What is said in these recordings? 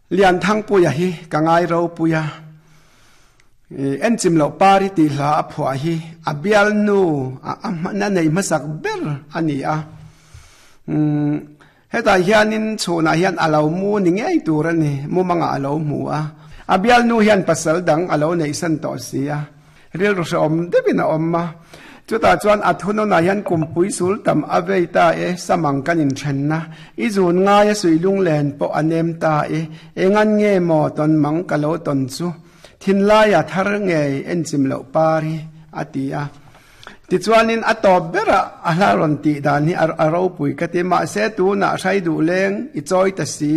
Lianthangpuia hi ka ngai ropui a, Enchim loh pari tih hla a phuah hi a bialnu a nei hmasak ber a ni a. Hetah hianin chhunah hian a lo mu ni ngei tur a ni, mumangah a lo hmu a. A bialnu hian pasal dang a lo neihsan tawh si a, rilru hrehawm deuhin a awm a. Chutah chuan a thunawnah hian kumpui sul tam a vei ta e, samang kan inthenna, i zun ngai a suih lunglen pawh a nem ta e, engan nge maw tawn mang ka lo tawn chu, thinlaia thar ngei enchim loh par hi, a ti a. Tichuanin a tawp berah a hla rawn tih dan hi a ropui ka ti. Mahse tunah hrai duh leng i chawi ta si.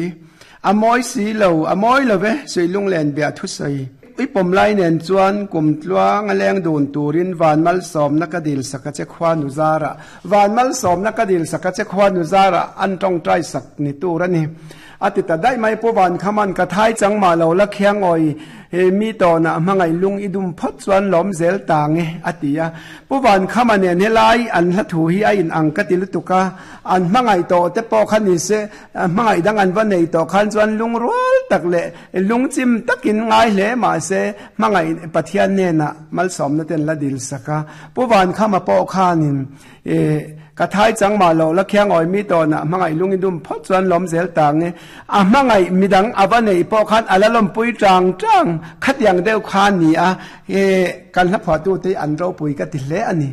A mawi si lo, a mawi lo ve, Suihlunglen bia thusawi. I pawm lai nen chuan kum tluang a leng dun turin van malsawmna ka dil sak a che khua nu zarah. Van malsawmna ka dil sak a che khua nu zarah an tawngtai sak ni tur a ni. A ti ta daih mai, Pu Vankhaman ka thai chang mah lo la khiang awi, he mi tawnah hmangaih lung i dum phawt chuan lawm zel ta nge, a ti a. Pu Vankhama nen helai an hla thu hi a in ang ka ti lutuk a, an hmangaih tawh te pawh kha ni se, hmangaih dang an va nei tawh khan chuan lungrual tak leh lungchim takin ngai hle mah se, hmangaih Pathian hnenah malsawmna ten la dil sak a. Pu Vankhama pawh khanin E, ka thai chang mah lo la khiang awi mi tawnah hmangaih lung i dum phawt chuan lawm zel tang e. A hmangaih midang a va neih pawh khan a la lawmpui tang tang khatiang deuh kha a ni a, e, kan hlaphuahtute hi an ropui ka ti hle a ni.